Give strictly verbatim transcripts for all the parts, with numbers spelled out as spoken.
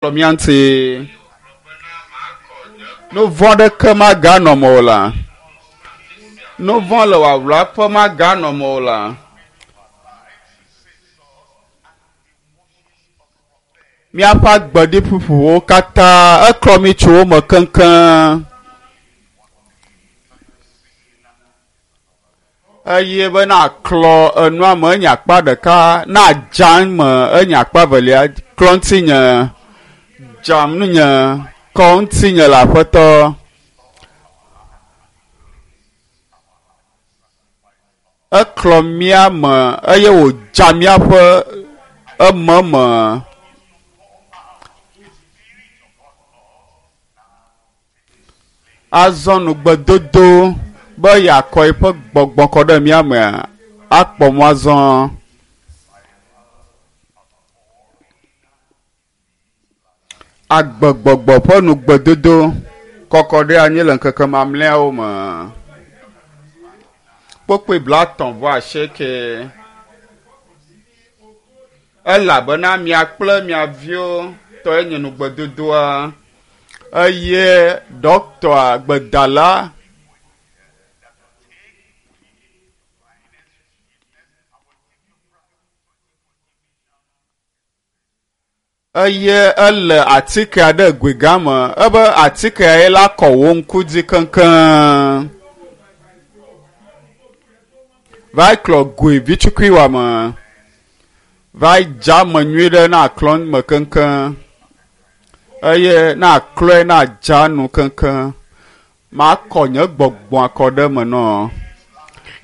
Kplɔ mía ŋuti. Nu vɔ̃ ɖeke maganɔ me o la. Nu vɔ̃ le wòawlaƒe maganɔ me o la. Míaƒe agbeɖiƒuƒuwo katã eklɔ mí tso wo me keŋkeŋ. Eye be naklɔ enua me enye akpa ɖeka, nadza me enye akpa evelia, klɔ ŋutinye, dzam nunye, kɔ ŋutinye le aƒetɔ. Eklɔ mía me eye wòdza míaƒe ememe. Azɔ nugbedodo be yeakɔ eƒe gbɔgbɔ kɔ ɖe mía mea, akpɔ mɔ azɔ. Agbegbɔgbɔ ƒe nugbedodo kɔkɔ ɖe anyi le ŋkeke mamlɛawo me. Kpokpoe blaetɔ̃ vɔ asieke. Elabena mia kple mia viwo tɔe nye nugbedodoa eye ɖɔkita gbedala eye ele atike aɖe goe gã me ebe atikea ye la kɔ wò ŋku dzi keŋkeŋ. Va klɔ goe vitukui wɔme. Va dza eme nyui ɖe na klɔ me keŋkeŋ eye na klɔe na dza nu keŋkeŋ. Makɔ nye gbɔgbɔ akɔ ɖe eme nɔ.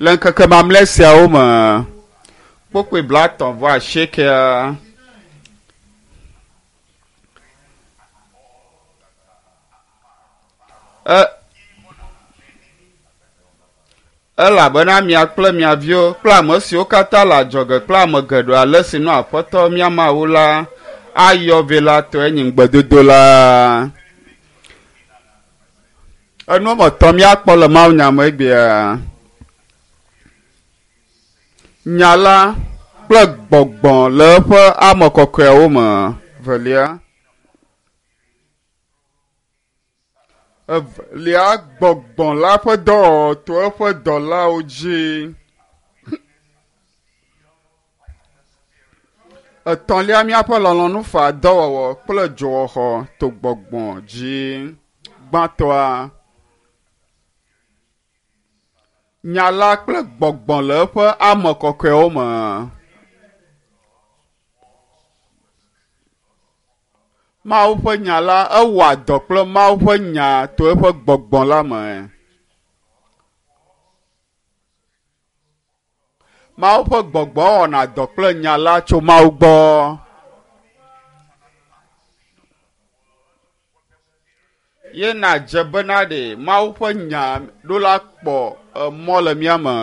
Le ŋkeke mamlɛ siawo me, kpokpoe blaetɔ̃ vɔ asiekea. E, elabena mia kple mia viwo kple ame siwo katã le adzɔge kple ame geɖewo ale si nɔ aƒetɔ mía Mawu la ayɔ vɛ la tɔe nye ŋugbedodo la. Enu wɔme etɔ̃ míakpɔ le mawunya me egbea. Nya la kple gbɔgbɔ le eƒe ame kɔkɔeawo me. Velia. Evelia gbɔgbɔ la ƒe dɔwɔwɔ to eƒe dɔlawo dzi. Etɔ̃lia míaƒe lɔlɔ̃nu faa dɔwɔwɔ kple dzowɔxɔ to gbɔgbɔ dzi. Gbãtɔa nya la kple gbɔgbɔ le eƒe ame kɔkɔewo me. Mawu ƒe nya la ewɔa dɔ kple Mawu ƒe nya to eƒe gbɔgbɔ la me. Mawu ƒe gbɔgbɔ wɔna dɔ kple nya la tso Mawu gbɔ. Ye nadze bena ɖe Mawu ƒe nya ɖo la kpɔ emɔ le mía me.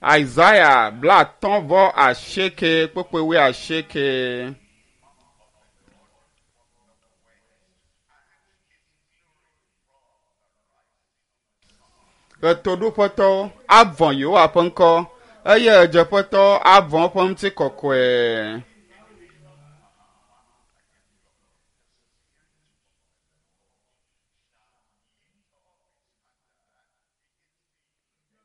Isaiah blaatɔ̃ vɔ asieke kpukpui wuiasieke. Ɣetoɖoƒetɔwo avɔ̃ Yehowa ƒe ŋkɔ eye ɣedzeƒetɔwo avɔ̃ eƒe ŋutikɔkɔe.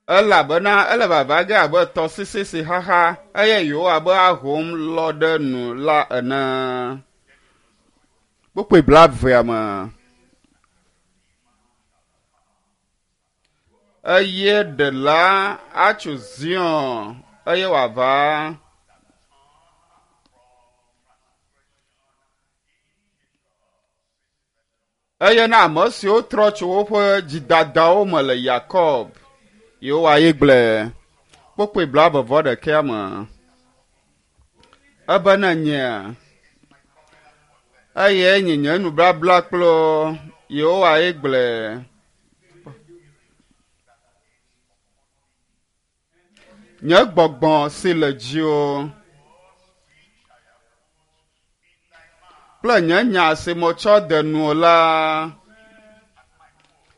Elabena ele vava ge abe tɔsisi si xaxa eye Yehowa be ahom lɔ ɖe nu la ene. Kpukpui blaevea me. Eye ɖela atso Zion eye wòava. Eye na ame siwo trɔ tso woƒe dzidadawo me le Yakob, Yehowa ye gblɔe. Kpukpui blaeve vɔ ɖekɛa me. Ebe ne nyea, eye nye nye nubabla kple Yehowa ye gblɔe. Nye gbɔgbɔ si le dziwò kple nye nya si metsɔ de nuwò la,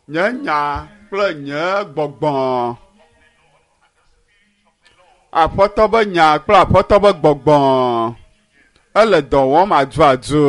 nye nya kple nye gbɔgbɔ. Aƒetɔ be nya kple aƒetɔ be gbɔgbɔ ele dɔ wɔm aduadu.